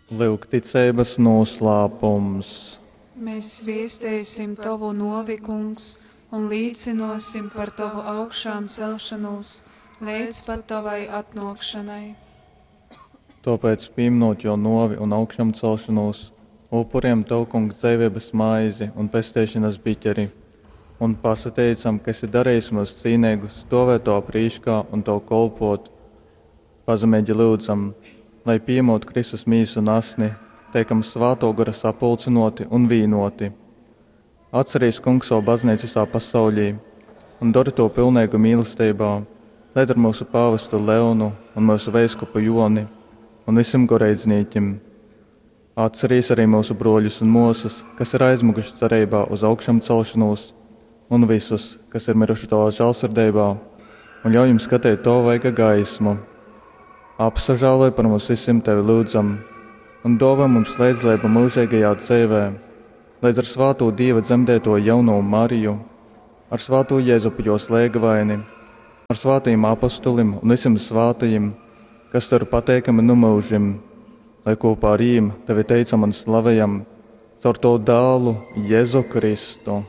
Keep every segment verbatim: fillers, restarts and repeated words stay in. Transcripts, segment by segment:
Lyugticeibas nūslāpums. Mēs viesteisim Tovu novi, Kungs, un līcinosim par Tovu augšām celšanos līdz pat Tavai atnākšanai. Tāpēc, pieminot jo novi un augšām celšanos, upuriem Tev, Kungs, dzīvības maizi un pestīšanas biķeri, un pasateicam, ka esi darījis mūs cīnīgus stovēt Tavā prīškā un Tev kolpot. Pazemīgi lūdzam, lai pieņemot Kristus mīsu un asni, teikam Svētō Gara sapulcinoti un vīnoti. Atcerīs, Kungs, savu baznīcu visā pasaulī un dori to pilnīgu mīlestībā, lai ar mūsu pāvestu Leonu un mūsu veiskupu Joni un visiem goreidznīkim. Atcerīs arī mūsu broļus un mūsas, kas ir aizmuguši cerībā uz augšām celšanos, un visus, kas ir miruši tavā žēlsirdībā, un ļauj jums skatīt to vaiga gaismu. Apsažāloj par mums visiem tevi lūdzam, un dāvā mums līdzdalību mūžīgajā dzīvē, līdz ar svāto Dieva dzemdēto jauno Mariju, ar svāto Jēzupu jos lēgavaini, ar svātajiem apostulim un visiem svātajiem, kas tev ir pateikami nu mūžim, lai kopā ar viņiem tevi teicam un slavējam caur tavu dēlu Jēzu Kristu.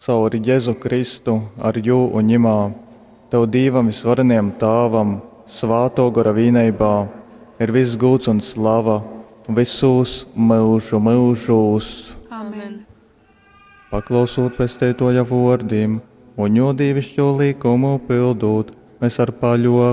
Caur Jēzu Kristu, ar jū un ņimā, tev Dīvam visvarenajam Tāvam, svāto gara vīneibā, ir viss gūts un slava visos mūžu mūžos. Amen. Paklausot pesteitoja vārdiem un jo dievišķo likumu pildot, mēs ar paļo